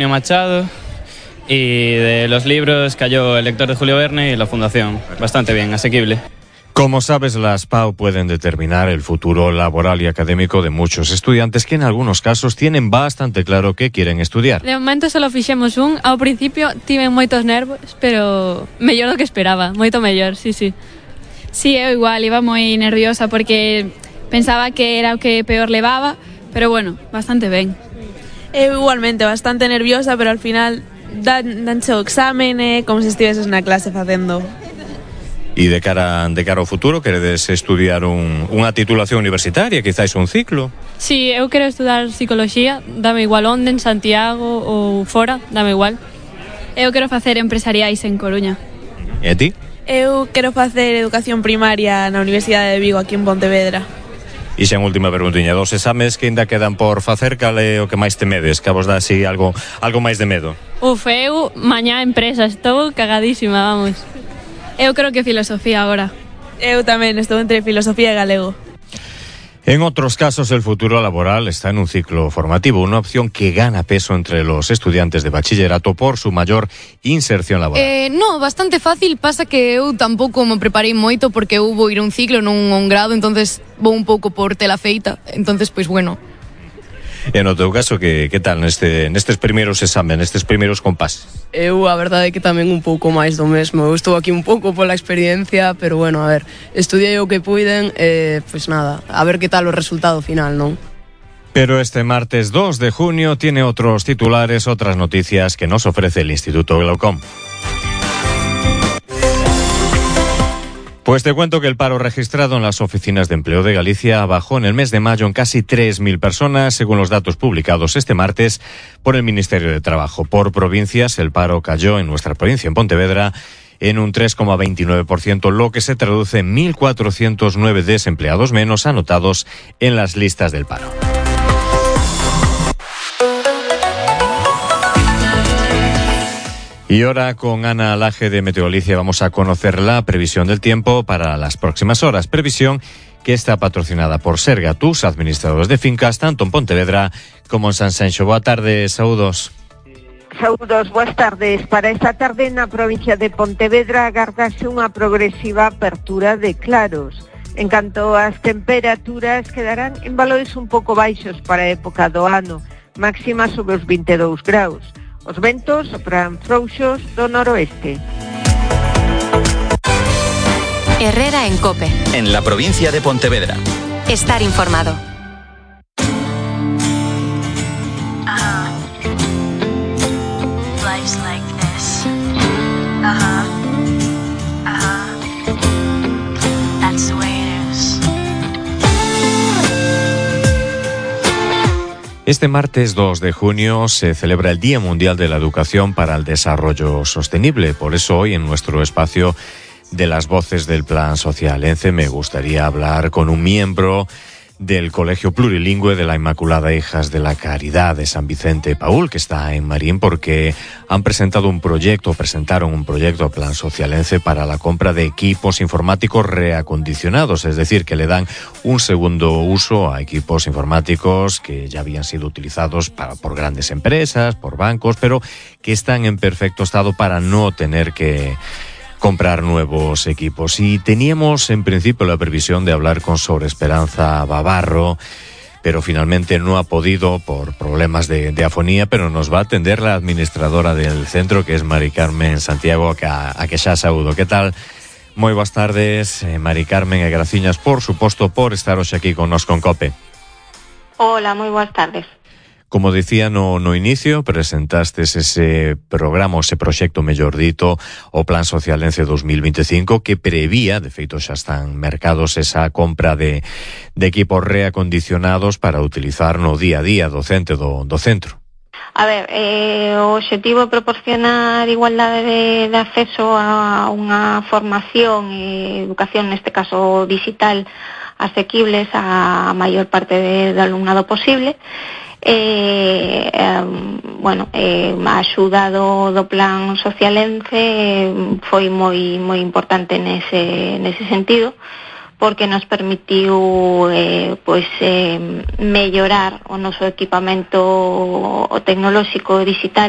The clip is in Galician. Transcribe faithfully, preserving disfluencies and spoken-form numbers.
Machado, y de los libros cayó El lector de Julio Verne y La Fundación. Bastante bien, asequible. Como sabes, las P A U pueden determinar el futuro laboral y académico de muchos estudiantes que en algunos casos tienen bastante claro qué quieren estudiar. De momento solo fixemos un. Ao principio tiven moitos nervos, pero mellor do que esperaba, moito mellor, sí, sí. Sí, eu igual, iba moi nerviosa porque pensaba que era o que peor levaba, pero bueno, bastante ben. Eu igualmente, bastante nerviosa, pero al final dan, danche o examen, eh, como se estiveses na clase facendo. E de cara de cara ao futuro, queredes estudiar un, unha titulación universitaria, quizáis un ciclo? Sí, eu quero estudar psicoloxía, dame igual onde, en Santiago ou fora, dame igual. Eu quero facer empresariais en Coruña. E a ti? Eu quero facer educación primaria na Universidade de Vigo, aquí en Pontevedra. E xa en última perguntiña, dos exames que ainda quedan por facer, cal é o que máis temedes? Que vos dá así algo, algo máis de medo? Uf, eu mañá empresa, estou cagadísima, vamos. Eu creo que filosofía agora. Eu tamén estou entre filosofía e galego. En otros casos, el futuro laboral está en un ciclo formativo, una opción que gana peso entre los estudiantes de bachillerato por su mayor inserción laboral. Eh, no, bastante fácil, pasa que eu tampouco me preparei moito porque eu vou ir a un ciclo, non a un grado, entonces vou un pouco por tela feita, entonces, pois, bueno. E no teu caso, que, que tal neste, nestes primeiros examen, nestes primeiros compases? Eu, a verdade é que tamén un pouco máis do mesmo. Eu estou aquí un pouco pola experiencia, pero bueno, a ver, estudiei o que puiden, e, pois nada, a ver que tal o resultado final, non? Pero este martes dos de junio tiene otros titulares, otras noticias que nos ofrece el Instituto Glaucom. Pues te cuento que el paro registrado en las oficinas de empleo de Galicia bajó en el mes de mayo en casi tres mil personas, según los datos publicados este martes por el Ministerio de Trabajo. Por provincias, el paro cayó en nuestra provincia, en Pontevedra, en un tres coma veintinueve por ciento, lo que se traduce en mil cuatrocientos nueve desempleados menos anotados en las listas del paro. Y ahora con Ana Laje de Meteorolicia vamos a conocer la previsión del tiempo para las próximas horas. Previsión que está patrocinada por Sergatus, administradores de fincas, tanto en Pontevedra como en Sanxenxo. Boa tarde, saúdos. Saúdos, boas tardes. Para esta tarde na provincia de Pontevedra agardase unha progresiva apertura de claros. En canto as temperaturas quedarán en valores un pouco baixos para a época do ano, máxima sobre os vinte e dous graus. Os ventos sopran frouxos do noroeste. Herrera en COPE. En la provincia de Pontevedra. Estar informado. Uh-huh. Life's like this. Uh-huh. Uh-huh. That's the way it is. Este martes dos de junio se celebra el Día Mundial de la Educación para el Desarrollo Sostenible. Por eso hoy en nuestro espacio de las voces del Plan Social ENCE me gustaría hablar con un miembro del Colegio Plurilingüe de la Inmaculada Hijas de la Caridad de San Vicente Paúl, que está en Marín, porque han presentado un proyecto, presentaron un proyecto Plan Social ENCE para la compra de equipos informáticos reacondicionados, es decir, que le dan un segundo uso a equipos informáticos que ya habían sido utilizados para, por grandes empresas, por bancos, pero que están en perfecto estado para no tener que comprar nuevos equipos. Y teníamos en principio la previsión de hablar con Sor Esperanza Bavarro, pero finalmente no ha podido por problemas de, de afonía, pero nos va a atender la administradora del centro, que es Mari Carmen Santiago, que a, a que xa saúdo. Que tal? Moi boas tardes, eh, Mari Carmen, e graciñas, por suposto, por estar hoxe aquí con nos con COPE. Hola, moi boas tardes. Como dicía no, no inicio, presentastes ese programa, ese proxecto, mellor dito, o Plan Social ENCE dos mil veinticinco, que prevía, de feito xa están mercados, esa compra de, de equipos reacondicionados para utilizar no día a día docente do, do centro. A ver, eh, o obxectivo é proporcionar igualdade de, de acceso a unha formación e educación, neste caso digital, asequibles a maior parte de, de alumnado posible. Eh, eh, bueno, eh, a axuda do, do Plan Social ENCE eh, foi moi moi importante nese, nese sentido, porque nos permitiu eh, pois, eh, mellorar o noso equipamento o tecnolóxico digital